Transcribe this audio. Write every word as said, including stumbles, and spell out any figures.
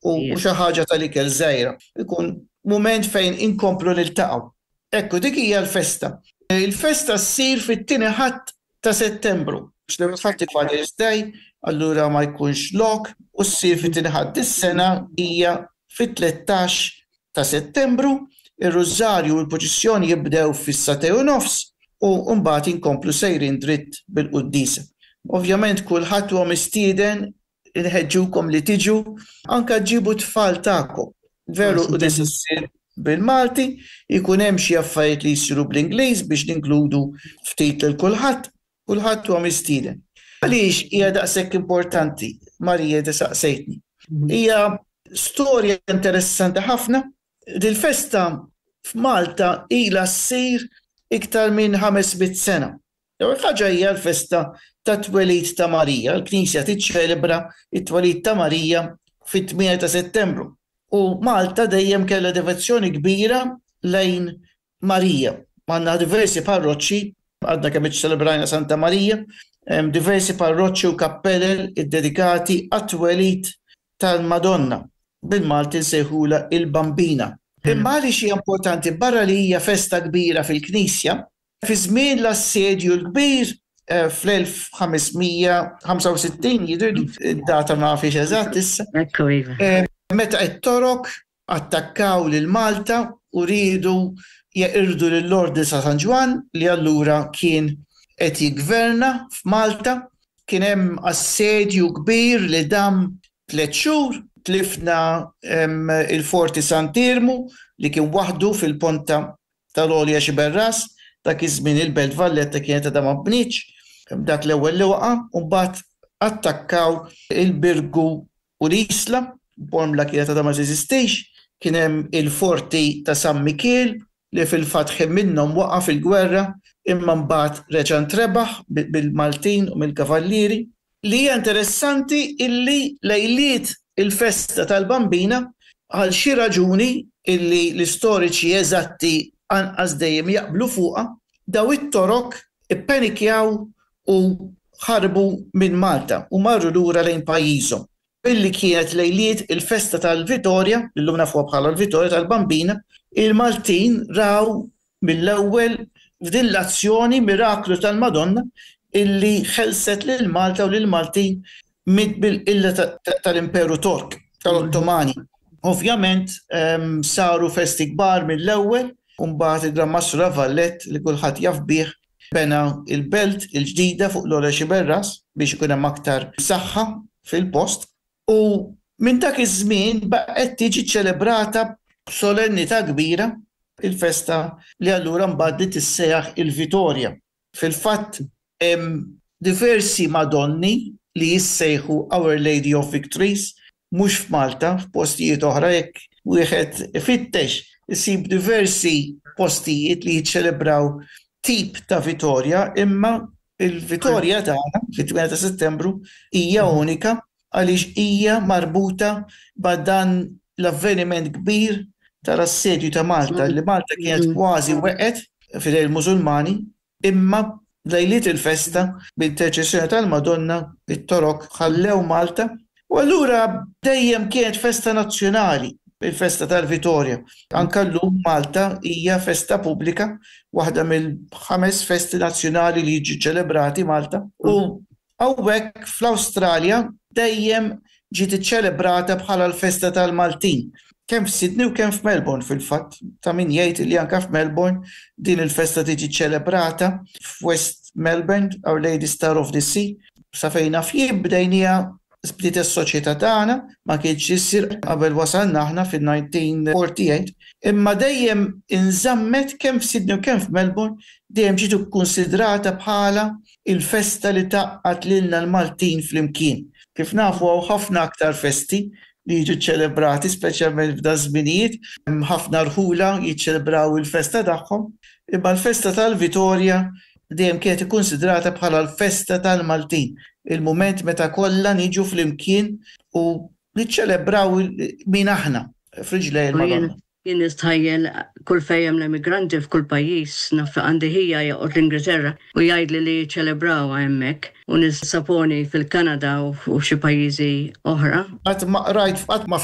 u xi ħaġa tal-ikel żgħira. Ikun mument fejn inkomplu niltaqgħu. Ekku, dik hija l-festa. Il-festa ssir fit-tieni Ħadd ta' Settembru. L-ewwel Ħadd Father's Day, allura ma jkunx lok u ssir fit-tieni Ħadd. Is-sena hija fit-tlettax ta' Settembru, ir-rużarju u l-purċissjoni jibdew fis-sagħtejn u nofs u mbagħad inkomplu sejrin dritt bil-quddiesa. Ovvjament kulħadd huwa mistieden, inħeġġukom li tiġu, anka ġibu tfal tagħkom. Veru, u issir bil-Malti, ikun hemm xi affarijiet li jsiru bl-Ingliż biex ninkludu ftit lil kulħadd, kulħadd huwa mistieden. Għaliex hija daqshekk importanti, Marija, saqsejtni? Hija storja interessanti ħafna. Dil-festa f'Malta ilha ssir iktar minn ħames mitt sena. L-ewwel ħaġa, hija l-festa ta' twelid ta' Marija. L-Knisja tiċċelebra it-twelid ta' Marija fit-tmienja ta' Settembru. U Malta dejjem kellha devozzjoni kbira lejn Marija. Għandna diversi parroċċi, għadna kemm iċċelebrajna Santa Marija, hemm diversi parroċċi u kappellel iddedikati għat-twelid tal-Madonna. Bil-Malti nsejħula il-Bambina. Imma għaliex hija importanti, barra li hija festa kbira fil-Knisja, fi żmien l-Assedju l-Kbir eh, fl-elf ħames mija ħamsa u sittin jidher, id-data ma nafx eżatt issa. Ekku, iva. Eh, meta it-Torok attakkaw lil Malta u riedu jeqirdu lill-Ordni sa San Ġwann li allura kien qed jiggverna f'Malta, kien hemm assedju kbir li dam tliet xhur, tlifna em, il-Forti Sant'Iermu li kien waħdu fil-ponta tal-Għolja Xiberras, dak iż-żmien il-Belt Valletta kienet għadha ma bnietx, dak l-ewwel li waqa', u mbagħad attakkaw il-Birgu u l-Isla, Bormla kienet għadha ma teżistix, kien hemm il-Forti ta' San Mikiel li fil-fatt minnhom waqa' fil-gwerra, imma mbagħad reġa' ntrebaħ bil-Maltin u mill-Kavallieri. Li hija interessanti illi lejliet il-festa tal-Bambina, għal xi raġuni illi l-istoriċi eżatti anqas dejjem jaqblu fuqha, daw it-Torok ippenikjaw u ħarbu minn Malta u marru lura lejn pajjiżhom. Billi kienet lejliet il-festa tal-Vitorja, illum nafuha bħala l-Vitorja tal-Bambina, il-Maltin raw mill-ewwel f'din l-azzjoni miraklu tal-Madonna illi ħelset lil Malta u lil Maltin mill-illa tal-Imperu Tork, tal-Ottomani. Ovvjament em, saru festi kbar mill-ewwel, u mbagħad il-Gran Mastru La Vallette, li kulħadd jaf bih, bena il-belt il-ġdida fuq l-Għolja Xiberras biex ikun hemm aktar saħħa fil-post. U minn dak iż-żmien baqgħet tiġi ċelebrata b'solennità kbira il-festa li allura mbagħad li tissejjaħ il-Vitorja. Fil-fatt hemm diversi Madonni li jissejħu Our Lady of Victories, mhux f'Malta, f'postijiet oħra. Jekk wieħed ifittex isib diversi postijiet li jiċċelebraw tip ta' Vitorja, imma il-Vitorja tagħna fit-tmienja ta' Settembru hija unika għaliex hija marbuta ma' dan l-avveniment kbir tal-assedju ta' Malta, li Malta kienet kważi weqgħet f'idejn il-Musulmani, imma lejliet il-festa, b'interċessjoni tal-Madonna, it-Torok ħallew Malta u allura dejjem kienet festa nazzjonali il-festa tal-Vitorja. Anka llum Malta hija festa pubblika, waħda mill-ħames festi nazzjonali li jiġu ċelebrati Malta. U hawnhekk fl-Awstralja dejjem ġiet iċċelebrata bħala l-festa tal-Maltin. Kemm f'Sydney u kemm f'Melbourne fil-fatt. Ta' min jgħid li anka f'Melbourne din il-festa tiġi ċelebrata f'West Melbourne, Our Lady Star of the Sea. Sa fejn naf jien bdejnija bdiet is-soċjetà tagħna, ma kienx issir qabel wasalna aħna fil-elf disa' mija forty-eight, imma dejjem inżammet kemm f'Sydney u kemm f'Melbourne, dejjem ġiet ikkonsidrata bħala il-festa li tgħaqqad lilna l-Maltin flimkien. Kif nafu, hawn ħafna aktar festi li jiġu ċelebrati, speċjalment f'da żminijiet, hemm ħafna rħula jiċċelebraw il-festa tagħhom, imma l-festa tal-Vitorja dejjem kienet ikkonsidrata bħala l-festa tal-Maltin, il-mument meta kollha niġu flimkien u niċċelebraw min aħna f'riġlej il-Madonna. Jien nistħajjel kull fejn hemm l-emigranti f'kull pajjiż, naf għandi ħija joqgħod l-Ingilterra u jgħidli li ċelebraw hemmhekk u nissaponi fil-Kanada u xi pajjiżi oħra. Qatt ma rajt, qatt ma